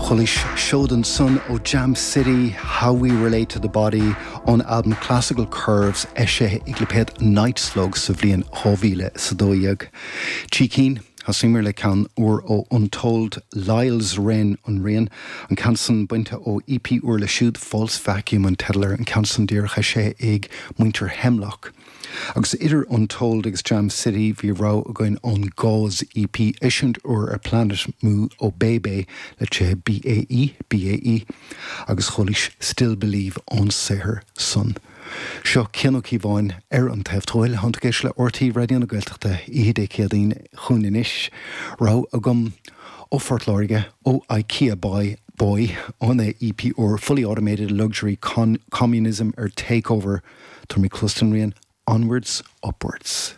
Chualaís seod ansan ó Jam City, How We Relate to the Body, ón albam Classical Curves, eisithe ag lipéad Night Slug sa bhliain 2012. Trí cinn, thosaíomar le ceann úr ó Untold, Lyle's Wren an rian, an ceann san bainte ó EP úr leo siúd, False Vacuum an teideal air, an ceann san díreach eisithe ag muintir Hemlock. Agus idir Untold agus Jam City bhí rogha againn ón Gauze EP, eisiúint úr ar Planet Mu ó BaeBae le tithe BAE, BAE, agus chualaís Still Believe ón saothar san. Seo Cian Ó Cíobháin ar an taobh tuathail, tánn tú ag éisteacht le RTÉ Raidió na Gaeltachta, oíche Dé Céadaoin chugainn anois. Rogha agam ó Phort Láirge, ó Ikea Boy, Boy, óna EP úr Fully Automated Luxury Communism ar Takeover. Tabharfaidh mé cluas don rian Onwards Upwards.